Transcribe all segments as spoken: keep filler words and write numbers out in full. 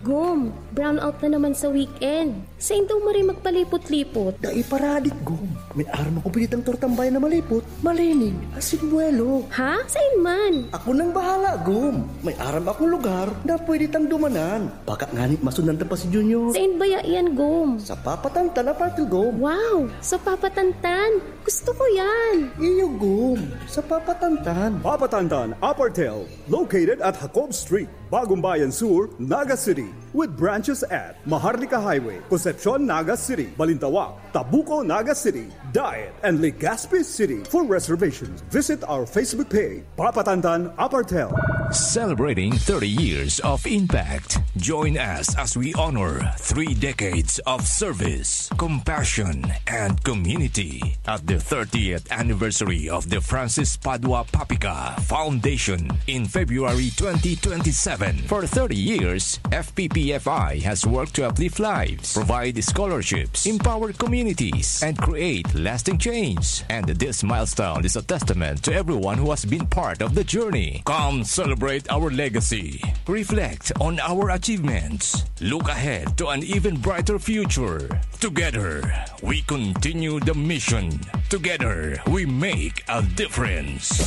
Gom, brownout na naman sa weekend. Sain daw maray magpalipot-lipot? Dai paradik, Gom. May aram akong pinitang tortang bayan na malipot, malinig, asin buwelo. Ha? Sain man? Ako nang bahala, Gom. May aram akong lugar na pwede tang dumanan. Baka nganit masundan ta pa si Junior. Sain baya yan, Gom? Sa Papa Tantan Apartel, Gom. Wow! Sa Papa Tantan? Gusto ko yan! Iyo, Gom. Sa Papa Tantan. Papa Tantan Apartel, located at Jacob Street, Bagumbayan Sur, Naga City, with branches at Maharlika Highway, Concepcion, Naga City, Balintawak, Tabuco, Naga City, Daet, and Legazpi City. For reservations, visit our Facebook page, Papa Tantan Apartel. Celebrating thirty years of impact. Join us as we honor three decades of service, compassion, and community at the thirtieth anniversary of the Francis Padua Papica Foundation in February twenty twenty-seven. For thirty years, F P P F I has worked to uplift lives, provide scholarships, empower communities, and create lasting change. And this milestone is a testament to everyone who has been part of the journey. Come celebrate our legacy. Reflect on our achievements. Look ahead to an even brighter future. Together, we continue the mission. Together, we make a difference.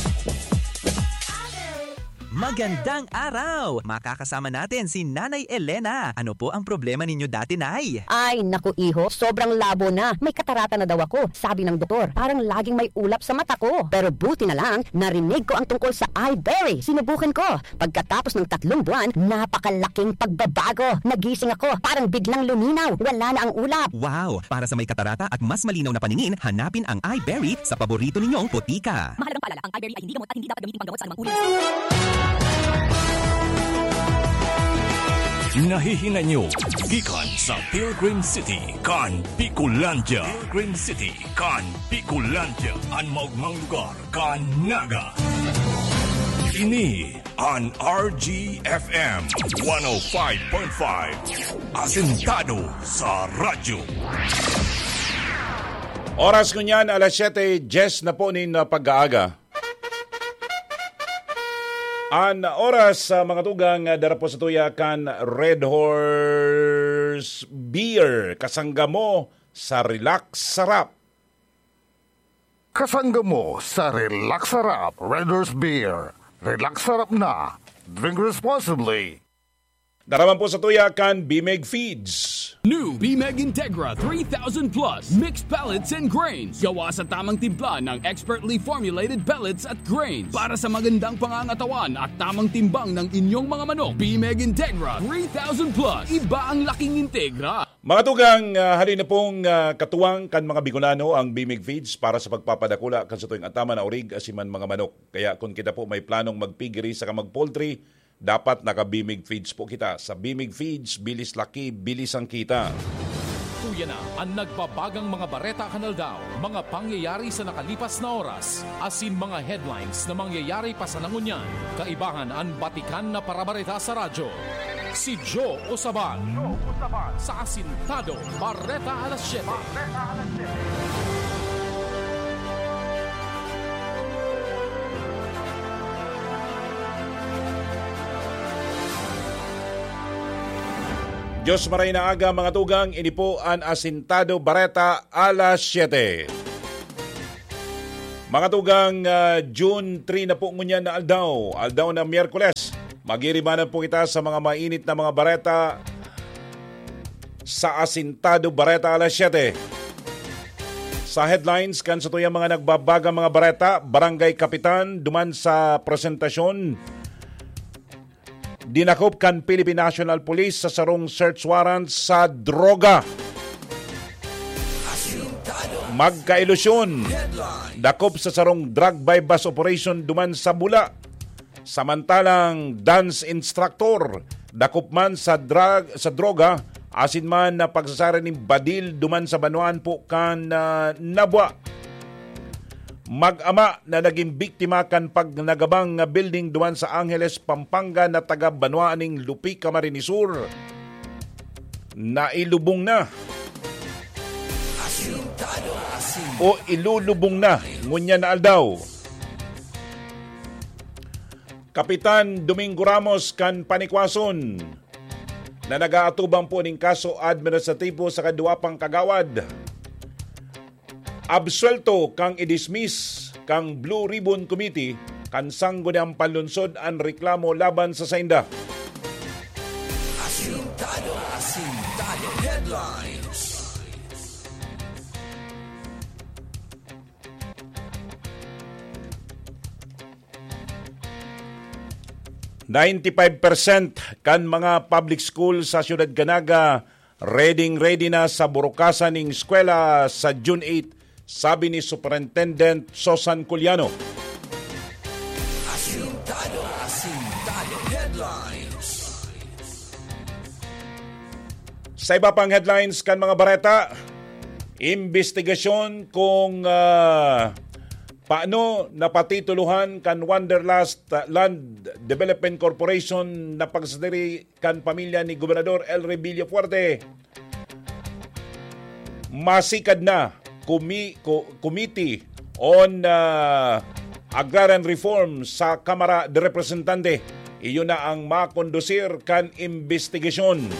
Magandang araw! Makakasama natin si Nanay Elena. Ano po ang problema ninyo dati, Nay? Ay, naku, iho, sobrang labo na. May katarata na daw ako, sabi ng doktor. Parang laging may ulap sa mata ko. Pero buti na lang, narinig ko ang tungkol sa Iberry. Sinubukan ko. Pagkatapos ng tatlong buwan, napakalaking pagbabago. Nagising ako, parang biglang luminaw. Wala na ang ulap. Wow! Para sa may katarata at mas malinaw na paningin, hanapin ang Iberry sa paborito ninyong botika. Mahalagang paalala, ang Iberry ay hindi gamot at hindi dapat gamitin panggamot sa anumang uri ng sakit. Nahihinay nyo gikan sa Pilgrim City kan Bicolandia. Pilgrim City kan Bicolandia, an maogmang lugar kan Naga. Ini an R G F M one oh five point five. Asentado sa radyo. Oras ngunyan, alas siyete dyes na po nin, ah, pag-aaga. An oras sa mga tugang, ah, dara po sa tuya kan Red Horse Beer. Kasangga mo sa Relax Sarap. Kasangga mo sa Relax Sarap, Red Horse Beer. Relax Sarap na. Drink responsibly. Dara man po sa tuya kan Bimeg Feeds. New Bimeg Integra three thousand Plus Mixed Pellets and Grains. Gawa sa tamang timpla ng expertly formulated pellets at grains para sa magandang pangangatawan at tamang timbang ng inyong mga manok. Bimeg Integra three thousand Plus. Iba ang laking Integra. Mga tugang, ah, hali na pong, ah, katuwang kan mga Bicolano ang Bimeg Feeds para sa pagpapadakula kan satuyang ataman na orig asin man mga manok. Kaya kun kita po may planong mag-piggery saka mag-poultry, dapat naka-Bimeg Feeds po kita. Sa Bimeg Feeds, bilis laki, bilis ang kita. Tuya na an nagbabagang mga bareta kan aldaw, mga pangyayari sa nakalipas na oras, asin mga headlines na mangyayari pa sana ngunyan. Kaibahan an batikan na parabareta sa radyo. Si Joe Osaban. Joe Osaban. Sa Asintado, Bareta alas siyete. Bareta alas siyete. Diyos maray na aga, mga tugang, ini po an Asintado Bareta alas siyete. Mga tugang, ah, June three na po ngunyan na aldaw, aldaw na Miyerkules. Magiribanan po kita sa mga mainit na mga bareta sa Asintado Bareta alas siyete. Sa headlines, kan satuyang mga nagbabagang mga bareta, barangay kapitan duman sa presentasyon, dinakop kan Philippine National Police sa sarong search warrant sa droga. Magkailusyon, dakop sa sarong drug buy-bust operation duman sa Bula. Samantalang dance instructor, dakop man sa drug, sa droga, asin man na pagsasara nin badil duman sa banwaan po kan, ah, Nabua. Mag-ama na nagin biktima kan pagnagabang nga building duman sa Angeles, Pampanga na taga banwaan nin Lupi, Camarines Sur, nailubong na o ilulubong na ngunyan na aldaw. Kapitan Domingo Ramos kan Panikwason, na nag-aatubang po ning kaso administratibo sa kadwa pang kagawad. Absuelto kan i-dismiss kan Blue Ribbon Committee kan Sangguniang Panlungsod an reklamo laban sa sainda. Asintado, Asintado Headlines. Ninety-five percent kan mga public school sa Siyudad kan Naga ready-ready na sa burukasan ning eskwela sa June eight, sabi ni Superintendent Sosan Culiano. Asintado, Asintado Headlines. Sa iba pang headlines kan mga bareta, imbestigasyon kung, ah, paano napatitulohan kan Wanderlust, ah, Land Development Corporation na pagsadiri kan pamilya ni Gobernador Elry Villafuerte. Masikad na kumi-, ko-, Committee on, ah, Agrarian Reform sa Kamara de Representante. Iyo na ang makondusir kan imbestigasyon.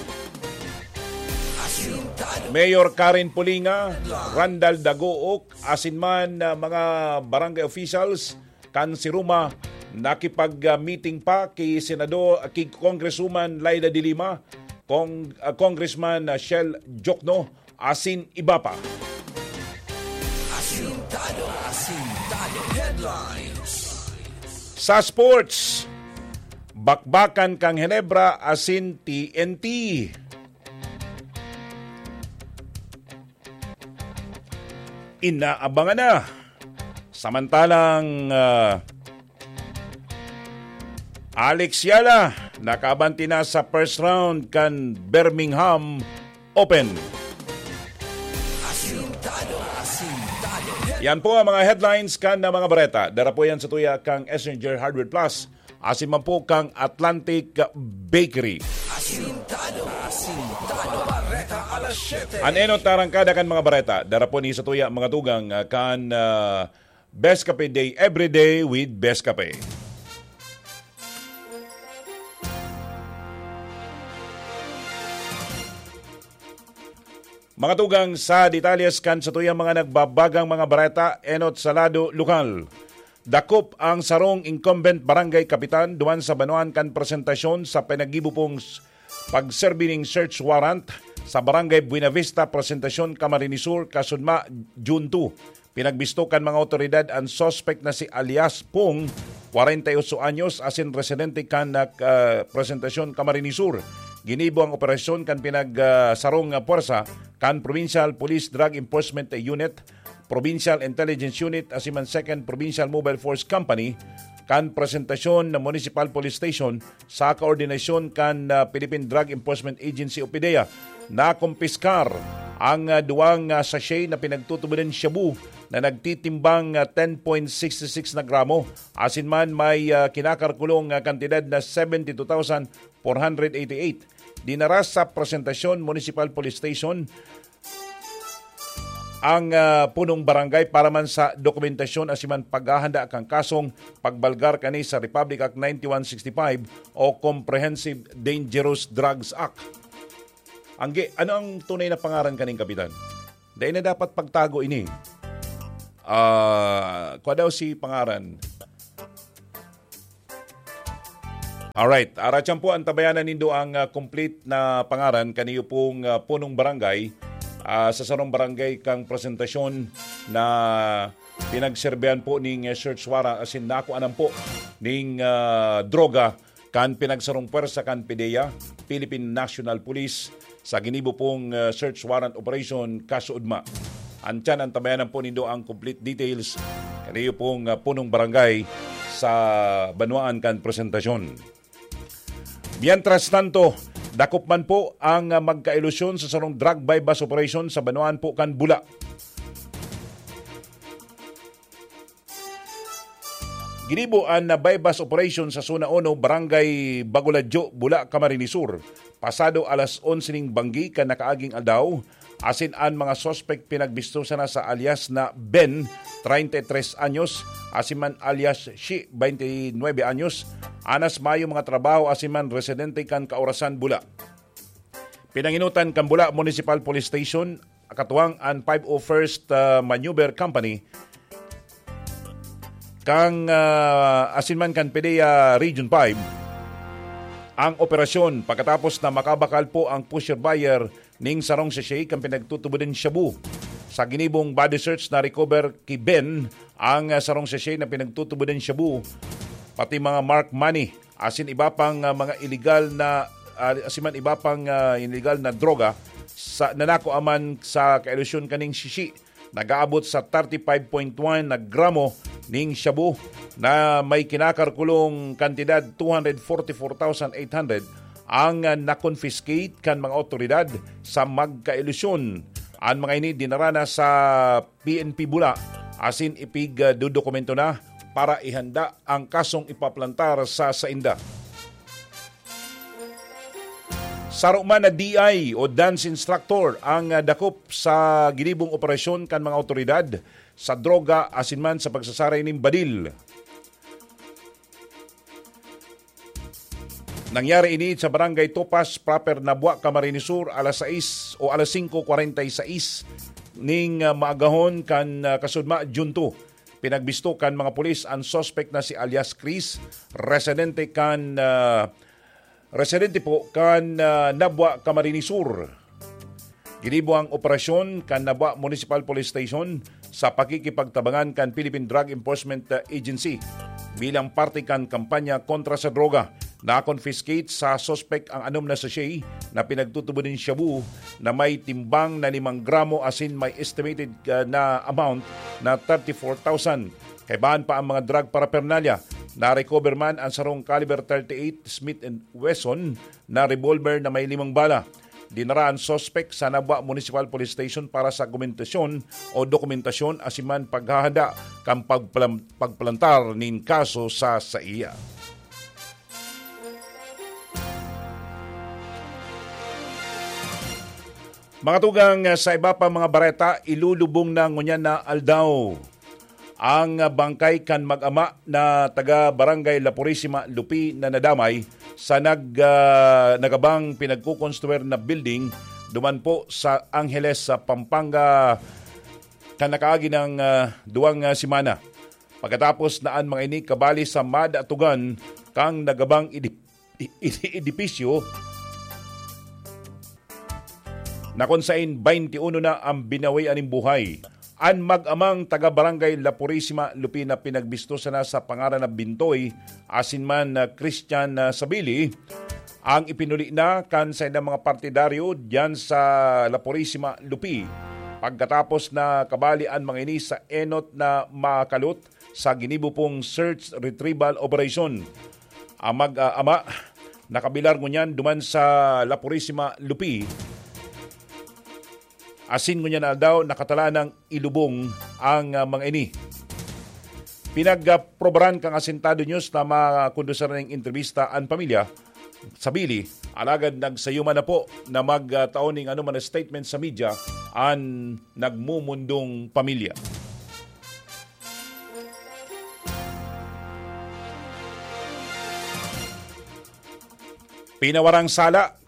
Mayor Karen Pulinga, Randall Dagook, asin man, ah, mga barangay officials kan Siruma, nakipag-meeting pa ki Senador, ki Congresswoman Leila de Lima, Cong-, ah, Congressman, ah, Shell Jokno, asin iba pa. Asintado, Asintado Headlines. Sa sports, bakbakan kan Ginebra asin T N T. Inaabangan na. Samantalang, ah, Alex Eala, nakabanti na sa first round kan Birmingham Open. Asintado, Asintado. Yan po ang mga headlines kan na mga bareta. Dara po yan sa tuya kang Essenger Hardware Plus. Asin man po kang Atlantic Bakery. Asintado, Asintado. Bareta alas siyete. An enot na arangkada kan mga bareta. Dara po ni sa tuya, mga tugang, ah, kan, ah, Best Cafe Day, every day with Best Cafe. Mga tugang, sa detalles kan sa tuyang mga nagbabagang mga bareta, enot sa lado lokal. Dakop ang sarong incumbent barangay kapitan duman sa banwaan kan presentasyon sa pinaggibo pong s-, pagserbi ning search warrant sa Barangay Buenavista, Presentacion, Camarines Sur, Kasudma, June two. Pinagbisto kan mga awtoridad an suspek na si alias Pong, kwarenta y ocho anyos, asin residente kan, ah, Presentacion, Camarines Sur. Ginibo ang operasyon kan pinag, ah, sarong nga puwersa kan Provincial Police Drug Enforcement Unit, Provincial Intelligence Unit, asin man Second Provincial Mobile Force Company kan Presentacion na Municipal Police Station sa koordinasyon kan, ah, Philippine Drug Enforcement Agency o PDEA. Nakumpiskar ang, ah, duwang, ah, sachet na pinagtutubodan shabu na nagtitimbang, ah, ten point six six na gramo. Asin man may, ah, kinakalkulong, ah, kantidad na seventy two thousand four hundred eighty eight. Dinara sa Presentacion Municipal Police Station ang, ah, punong barangay para man sa dokumentasyon asin man paghahanda kan kasong pagbalgar kani sa Republic Act ninety-one sixty-five o Comprehensive Dangerous Drugs Act. Angge, ano ang tunay na pangaran kaning kapitan? Dai na dapat pagtago ini. Ah, kwa daw si pangaran? Alright, aratyan po, antabayanan nindo ang, ah, complete na pangaran kaniyo pong, ah, punong barangay, ah, sa sarong barangay kang presentasyon na pinagserbihan po ning, ah, search warrant asin nakuanan po ning, ah, droga kan pinagsarong pwersa kan PDEA, Philippine National Police, sa ginibo pong, ah, search warrant operation kasuodma. Antiyan, antabayanan po nindo ang complete details kaniyo pong, ah, punong barangay sa banwaan kan presentasyon. Mientras tanto, dakop man po ang, ah, magkailusyon sa sarong drug buy-bust operation sa banwaan po kan Bula. Ginibo an buy-bust operation sa Zona Uno, Barangay Bagoladyo, Bula, Camarines Sur, pasado alas onse ning banggi kan nakaaging aldaw, asin an mga suspek pinagbisto sana sa alias na Ben, treinta y tres anyos, asin man alias Shi, twenty nuebe anyos, anas mayo mga trabaho asin man residente kan Kaurasan, Bula. Pinanginutan kan Bula Municipal Police Station, katuwang an five oh first, ah, Maneuver Company, kan, ah, asin man kan PDEA Region five, ang operasyon pagkatapos na makabakal po ang pusher buyer ning sarong sachet kan pinagtutubod nin shabu. Sa ginibong body search, na-recover ki Ben ang, ah, sarong sachet na pinagtutubod nin shabu, pati mga marked money, asin iba pang, ah, mga illegal na, ah, asin man iba pang, ah, illegal na droga sa, na nakuha man sa kailusyon kaning sachet. Nag-aabot sa thirty-five point one na gramo ning shabu na may kinakalkulong kantidad two hundred forty-four thousand eight hundred ang, ah, na-confiscate kan mga awtoridad sa magkailusyon. An mga ini dinara na sa P N P Bula asin ipig, ah, dodokumento na para ihanda ang kasong ipaplantar sa sainda. Saro man na D I o dance instructor ang, ah, dakop sa ginibong operasyon kan mga awtoridad sa droga asin man sa pagsasaray nin badil. Nangyari ini sa Barangay Topas Proper, Nabua, Camarines Sur, alas sais o alas singko kwarenta y sais ning, ah, maagahon kan, ah, kasudma, June two. Pinagbisto kan mga pulis an suspek na si alias Chris, residente kan, ah, residente po kan, ah, Nabua, Camarines Sur. Ginibo ang operasyon kan Nabua Municipal Police Station sa pakikipagtabangan kan Philippine Drug Enforcement, ah, Agency bilang parte kan kampanya kontra sa droga. Na-confiscate sa suspek ang anom na sachet na pinagtutubod nin shabu na may timbang na limang gramo asin may estimated, ah, na amount na thirty-four thousand. Kaibahan pa ang mga drug paraphernalia. Na-recover man ang sarong caliber thirty-eight Smith and Wesson na revolver na may limang bala. Dinara an suspek sa Nabua Municipal Police Station para sa dokumentasyon o dokumentasyon asin man paghahanda kan pagplam-, pagplantar nin kaso sa saiya. Mga tugang, sa iba pa mga bareta, ilulubong na ngunyan na aldaw ang bangkay kan mag-ama na taga Barangay La Purisima, Lupi, na nadamay sa nag-, ah, nagabang pinagkukonstruir na building duman po sa Angeles, sa Pampanga, kan nakaagi ng, ah, duwang, ah, semana. Pagkatapos na an mga ini kabali sa madatugan kang nagabang idi-, i-, i-, edipisyo, na kun sain baynti uno na ang binawi aning buhay. An mag-amang taga Barangay La Purisima, Lupi, na pinagbisto sana sa pangaran na Bintoy asin man na Christian, ah, Sabili, ang ipinuli na kan saindang mga partidaryo diyan sa La Purisima, Lupi. Pagkatapos na kabali an mga ini sa enot na makalot sa ginibo pong search retrieval operation. Ang mag-, ah, ama, nakabilar ngunyan duman sa La Purisima, Lupi. Asin ngunyan na aldaw, nakatalaan nang ilubong ang, ah, mga ini. Pinagprobaran kan Asintado News na makondusir ning entrevista an pamilya, Sabili, alagad nagsayuman na po na magtao ning anoman na statement sa media an nagmumundong pamilya. Pinawarang sala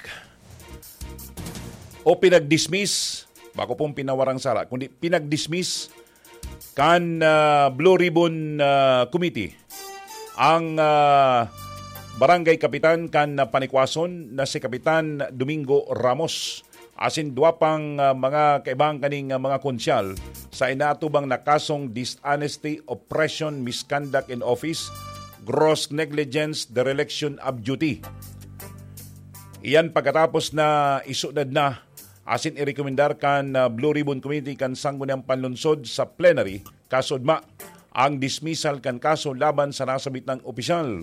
o pinagdismiss, bako pong pinawarang sala, kundi pinagdismiss kan, ah, Blue Ribbon, ah, Committee ang, ah, barangay kapitan kan, ah, Panikwason na si Kapitan Domingo Ramos. Asin dua pang, ah, mga kaibang kaning, ah, mga konsyal sa inaatubang na kasong dishonesty, oppression, misconduct in office, gross negligence, dereliction of duty. Iyan pagkatapos na isunod na asin irekomendar kan, ah, Blue Ribbon Committee kan Sangguniang Panlunsod sa plenary, kasudma ang dismissal kan kaso laban sa nasabit nang opisyal.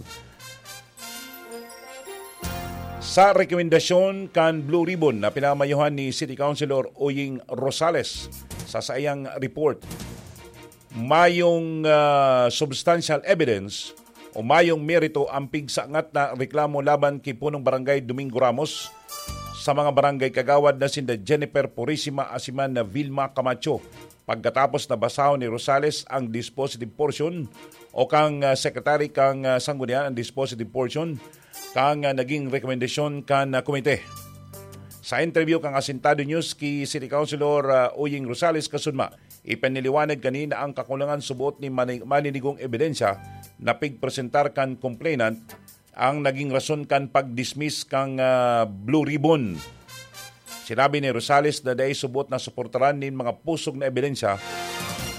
Sa rekomendasyon kan Blue Ribbon na pinamayohan ni City Councilor Oying Rosales sa saiyang report, mayong, ah, substantial evidence o mayong merito ang pigsangat na reklamo laban ki Punong Barangay Domingo Ramos sa mga barangay kagawad na sinda Jennifer Purisima asin man na Vilma Camacho. Pagkatapos na basahon ni Rosales ang dispositive portion o kang, ah, secretary kang, ah, sanggunian ang dispositive portion kang, ah, naging rekomendasyon kan, ah, komite. Sa interview kan Asintado News ki City Councilor, ah, Oying Rosales Kasudma, ipaniliwanag kanina ang kakulangan subot ni mani-, maninigong ebidensya na pigpresentar kan complainant ang naging rason kan pag-dismiss kan, ah, Blue Ribbon. Sinabi ni Rosales na dai subot na suportaran nin mga pusog na ebidensya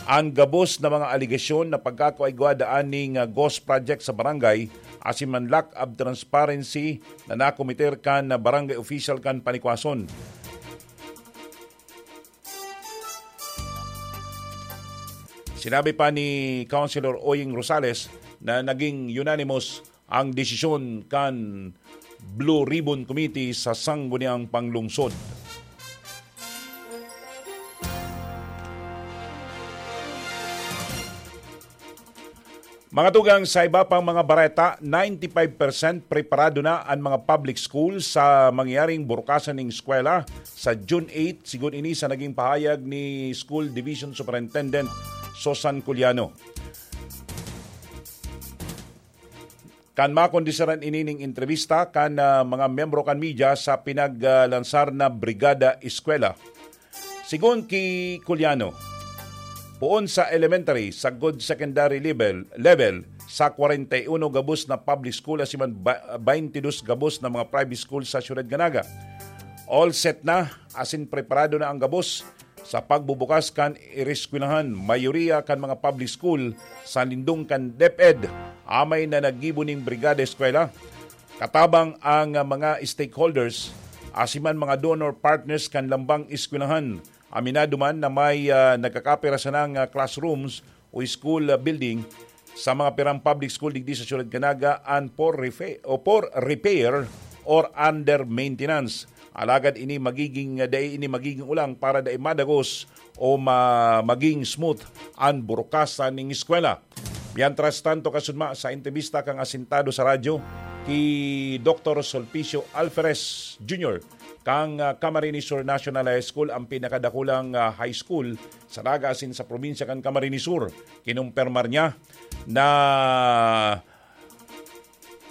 an gabos na mga alegasyon na pagkakaigwa daan ning, ah, ghost project sa barangay asin man lack of transparency na nakomiter kan barangay official kan Panikwason. Sinabi pa ni Councilor Oying Rosales na naging unanimous ang desisyon kan Blue Ribbon Committee sa Sangguniang Panglungsod. Mga tugang, sa iba pang mga bareta, ninety-five percent preparado na an mga public school sa mangyaring burukasan ning eskwela sa June eight, sigon ini sa naging pahayag ni School Division Superintendent Susan Culiano. Kan makondisiran ini ning entrevista kan, ah, mga miyembro kan media sa pinaglansar na Brigada Eskwela. Sigon ki Culiano, poon sa elementary, sagkod secondary level, level, sa kwarenta y uno gabos na public school asin man ba-, baintidos gabos na mga private school sa Syudad kan Naga. All set na, asin preparado na ang gabos sa pagbubukas kan eskwelahan. Mayoriya kan mga public school sa lindong kan DepEd, amay na naggibo ning Brigada Eskwela. Katabang ang, ah, mga stakeholders, asin man mga donor partners kan lambang eskwelahan. Aminado man na may, ah, nagkakapira sanang, ah, classrooms o school, ah, building sa mga pirang public school digdi sa Syudad kan Naga an for refa-, o for repair or under maintenance. Alagad ini magiging, ah, dai ini magiging ulang para dai madagos o ma-, maging smooth an burukasan ning eskwela. Mientras tanto, Kasudma, sa entrebista kan Asintado sa Radyo, ki Doktor Sulpicio Alferez Junior, kan, ah, Camarines Sur National High School, ang pinakadakulang, ah, high school sa Naga asin sa probinsya kan Camarines Sur. Kinumpirmar niya na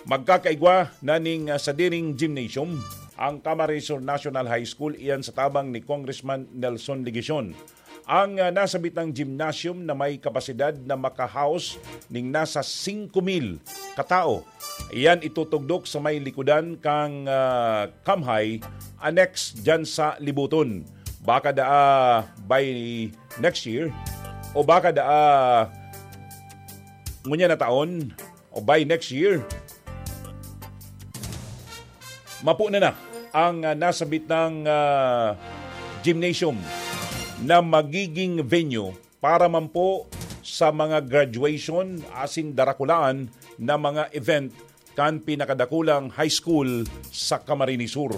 magkakaigwa na ning, ah, sadiring gymnasium ang Camarines Sur National High School, iyan sa tabang ni Congressman Nelson Legacion. Ang, ah, nasabitang gymnasium na may kapasidad na maka-house ning nasa singko mil katao. Iyan itutugdok sa may likodan kan, ah, Kamhay, annex diyan sa Libuton. Baka daa by next year, o baka daa ngunyan na taon, o by next year, mapo na na ang, ah, nasabitang, ah, gymnasium na magiging venue para man po sa mga graduation asin darakulaan na mga event kan pinakadakulang high school sa Camarines Sur.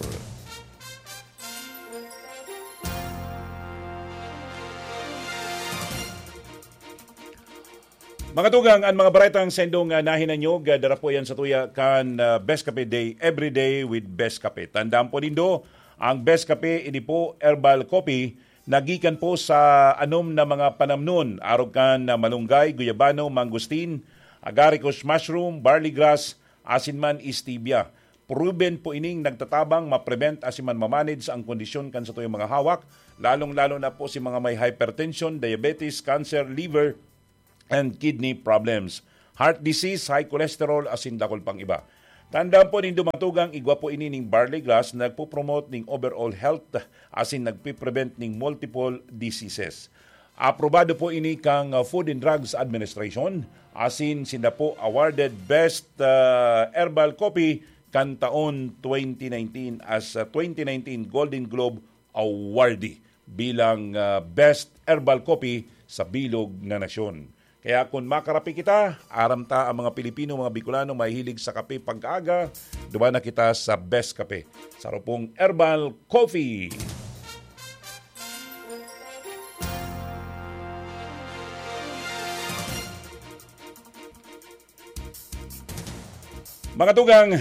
Mga tugang, an mga baretang sendong, ah, nahinanyog, ah, dara po yan sa tuya kan, ah, Best Cafe Day, Every Day with Best Cafe. Tandaan po nindo, ang Best Cafe, ini po, herbal coffee, nagikan po sa anom na mga panamnon, arog kan, ah, malunggay, guyabano, mangosteen, agaricus mushroom, barley grass, asin man stevia. Proven po ining nagtatabang, ma-prevent asin man ma-manage ang kondisyon kan satuyang mga hawak, lalong-lalo na po si mga may hypertension, diabetes, cancer, liver, and kidney problems, heart disease, high cholesterol, asin dakul pang iba. Tandaan po nindo, mga tugang, igwa po ini ning barley grass, nagpo-promote ning overall health asin nagpe-prevent ning multiple diseases. Aprobado po ini kang, uh, Food and Drugs Administration, asin sinda po awarded Best, uh, Herbal Coffee kan taon twenty nineteen as, uh, twenty nineteen Golden Globe awardee bilang, ah, Best Herbal Coffee sa bilog na nasyon. Kaya kun makarapi kita, aram ta ang mga Pilipino, mga Bicolano, mahilig sa kape pagkaaga, duman na kita sa Best Kape. Saro pong Herbal Coffee. Mga tugang,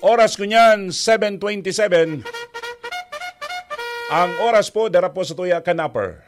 oras ko niyan, seven twenty-seven. Ang oras po, dara po sa tuya kan Napper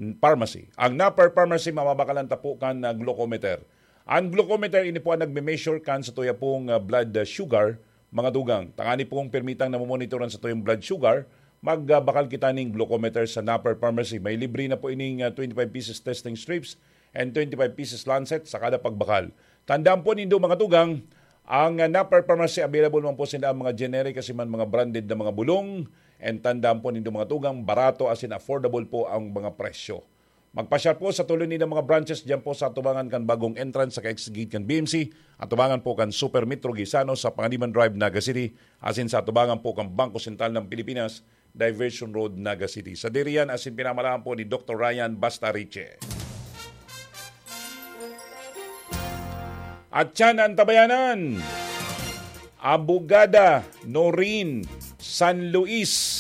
Pharmacy. Ang Napper Pharmacy, mababakalan ta po kan, ah, glucometer. Ang glucometer, ini po ang nagme-measure kan sa tuya pong, ah, blood, ah, sugar Mga tugang, tangani pong pirmitang namomonitoran sa tuyong blood sugar, magbakal kita ning glucometer sa Napper Pharmacy. May libre na po ining ah, twenty-five pieces testing strips and twenty-five pieces lancet sa kada pagbakal. Tandaan po nindo, mga tugang, ang ah, Napper Pharmacy, available man po sila ang mga generic kasi man mga branded na mga bulong. And tandaan po nindo, mga tugang, barato as in affordable po ang mga presyo. Magpasyal po sa tulo nilang mga branches diyan po sa atubangan kan bagong entrance sa ka-exit gate kan B M C, atubangan po kan Super Metro Gaisano sa Panganiban Drive, Naga City, asin sa atubangan po kan Bangko Sentral ng Pilipinas, Diversion Road, Naga City. Sa diriyan, asin pinamalaan po ni Doktor Ryan Bastariche. At yan ang tabayanan. Abogada Noreen San Luis.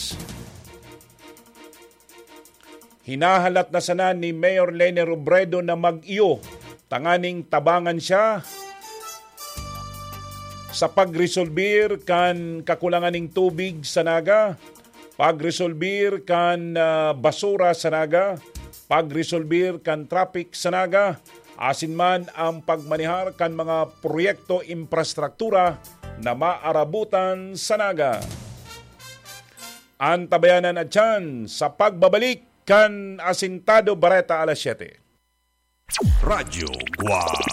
Hinahalat na sana ni Mayor Leni Robredo na mag-iyo tanganing tabangan siya sa pagresolbir kan kakulangan ning tubig sa Naga, pagresolbir kan ah, basura sa Naga, pagresolbir kan traffic sa Naga, asin man ang pagmanihar kan mga proyekto infrastruktura na maarabutan sa Naga. An tabayanan at tiyan sa pagbabalik kan Asintado Bareta alas siyete. Radyo Guam.